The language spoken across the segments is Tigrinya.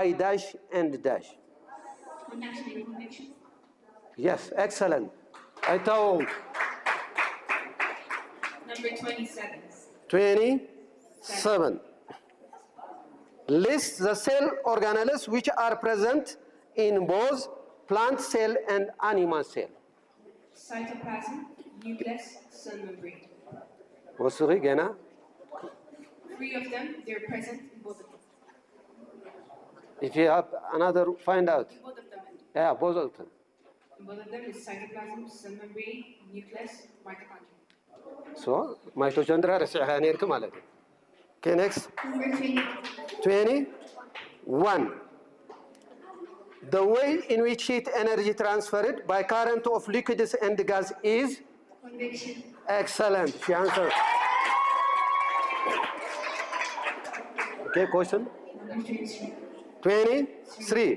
by dash and dash. Conduction and convection. Yes, excellent. I told Number twenty-seven. twenty-seven. List the cell organelles which are present in both plant cell and animal cell. Cytoplasm, nucleus, cell membrane. ወስኺ ገና Three of them, they're present in both of them. If you have another, find out. In both of them. Yeah, both of them. In both of them is cytoplasm, cell membrane, nucleus, mitochondria. So mitochondria ረሲዕኻ ነርክ ማለት እዩ። Okay, next. Number twenty. twenty-one. The way in which heat energy transferred by current of liquids and gas is Convection. Excellent. She answered. Okay, question. Number twenty-three. twenty-three.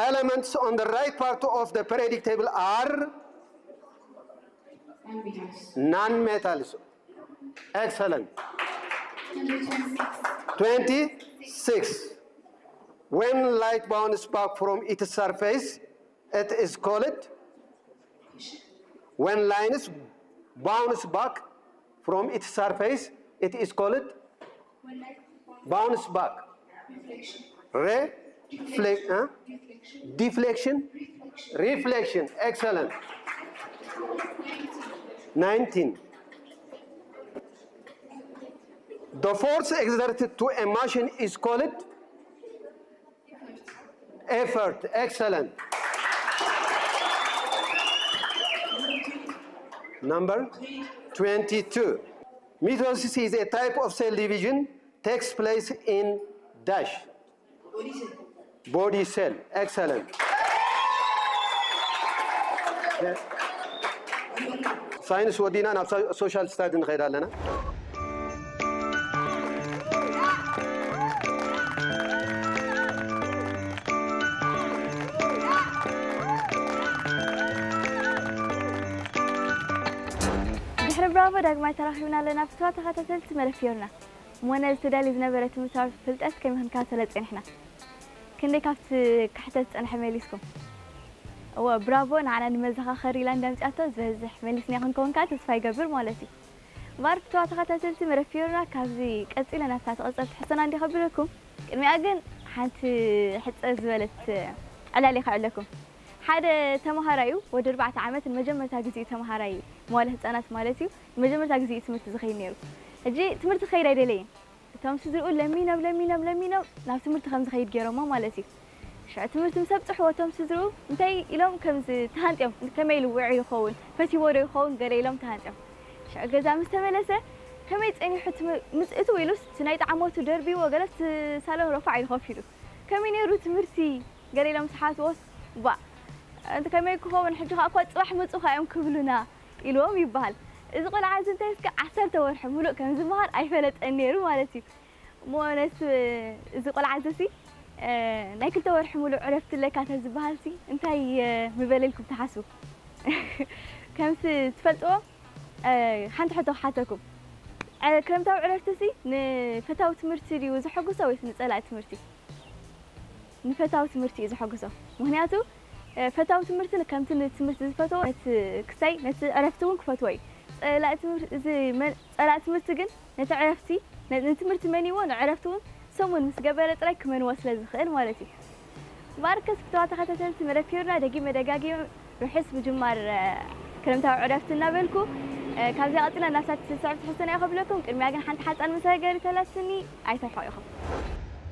Elements on the right part of the periodic table are Non-metals. non-metals. Excellent. Number twenty-six. twenty-six. When light bounces back from its surface, it is called. When lines bounce back from its surface, it is called When light bounce back. Reflection. Reflect, huh? Reflection. Deflection. Reflection. Reflection. Excellent. nineteen. The force exerted to a machine is called effort. Excellent. Number twenty-two. Mitosis is a type of cell division takes place in dash. Body cell. Excellent. Science ወዲና ናብ social study ንኸይድ ኣለና። ድሕሪ ብራቮ ዳግማይ ተራኺብና ኣለና። ፍትዋ ተኸታተልቲ መለፍዮርና እሞ ነዚ ተዳልዩ ዝነበረ ትምህርታዊ ፍልጠት ከመይ ክንከታተሎ ጸኒሕና? ክንደይ ካብቲ ክሕተት ዝጸንሐ መሊስኩም? እወ ብራቮ ንዓና ንመዘኻኸሪ ኢላ እንዳምጽኣቶ ዝበዝሕ መሊስና ክንከውን ከኣ ተስፋ ይገብር ማለት እዩ። እምበኣር ፍትዋ ተኸታተልቲ መለፍዮርና ካብዚ ቀጺለ ናብታ ትቕጽል ትሕዝቶና እንዲ ከብለኩም ቅድሚኣ ግን ሓንቲ ሕጽር ዝበለት ዕላል ከዕለኩም። ሓደ ተምሃራዩ ወዲ ኣርባዕተ ዓመት ንመጀመርታ ግዜ ተምሃራይ መዋለ ህፃናት ማለት እዩ ንመጀመርታ ግዜ እዩ ትምህርቲ ዝኸይድ ነይሩ። ሕጂ ትምህርቲ ክኸይድ ኣይደለየን። እቶም ስድርኡ ለሚኖም ለሚኖም ለሚኖም ናብ ትምህርቲ ከም ዝኸይድ ገይሮሞ ማለት እዩ። ሽዑ ትምህርቲ ምስ ኣብፅሕዎ እቶም ስድርኡ እንታይ ኢሎም ከም ዝተሃንጥዮም ከመይ ኢሉ ውዒ ይኸውን ፈቲዎ ዶ ይኸውን ገለ ኢሎም ተሃንጥዮም። ሽዑ ገዛ ምስ ተመለሰ ከመይ ፀኒሑ ትምህር- ምስ እትው ኢሉስ እቲ ናይ ጣዕሞቱ ደርቢዎ ገለ እቲ ሳሎን ረፋዕ ኢሉ ኮፍ ኢሉ ከመይ ነይሩ ትምህርቲ ገለ ኢሎም ዝሓትዎስ ባ እንቲ ከመይ ክኸውን ሕጂ ከዓ እኳ ፅባሕ መፁ ከዓ እዮም ክብሉና ኢልዎም ይበሃል። እዚ ቆልዓ እዚ እንታይ እስከ ዓሰርተ ወርሒ ሙሉእ ከም ዝመሃር ኣይፈለጠን ነይሩ ማለት እዩ። እሞ ነቲ እዚ ቆልዓ እዚ ሲ ናይ ክልተ ወርሒ ሙሉእ ዕረፍቲ ኣለካ ተዝበሃል ሲ እንታይ ምበለ ኢልኩም ትሓስቡ? ከምቲ ትፈልጥዎ ሓንቲ ሕቶ ክሓተኩም። ክረምታዊ ዕረፍቲ ሲ ንፈታዊ ትምህርቲ ድዩ ዘሐጉሶ ወይስ ንፀላኢ ትምህርቲ? ንፈታዊ ትምህርቲ እዩ ዘሐጉሶ። ምክንያቱ ፈታዊ ትምህርቲ ከምቲ ንትምህርቲ ዝፈትዎ ነቲ ክሳይ ነቲ ዕረፍቲ እውን ክፈትዎ እዩ። ፀላኢ ትምህርቲ እዚ መ- ፀላኢ ትምህርቲ ግን ነቲ ዕረፍቲ ነ- ንትምህርቲ መንይዎ ንዕረፍቲ እውን ሰሙን ምስ ገበረ ጥራይ ክመንዎ ስለ ዝኽእል ማለት እዩ። ባርከስ ፍተዋ ተኸታተልቲ መለፊዮርና ደጊመ ደጋጊመ ርሑስ ምጅማር ክረምታዊ ዕረፍቲ እናበልኩ ካብዚኣ ቀፂላ ናብታ ትስዕብ ትሕዝቶና እየ ከብለኩም። ቅድሚያ ግን ሓንቲ ሓፃን መሰጋገሪት ኣላትኒ ኣይተርሕቑ ኢኹም።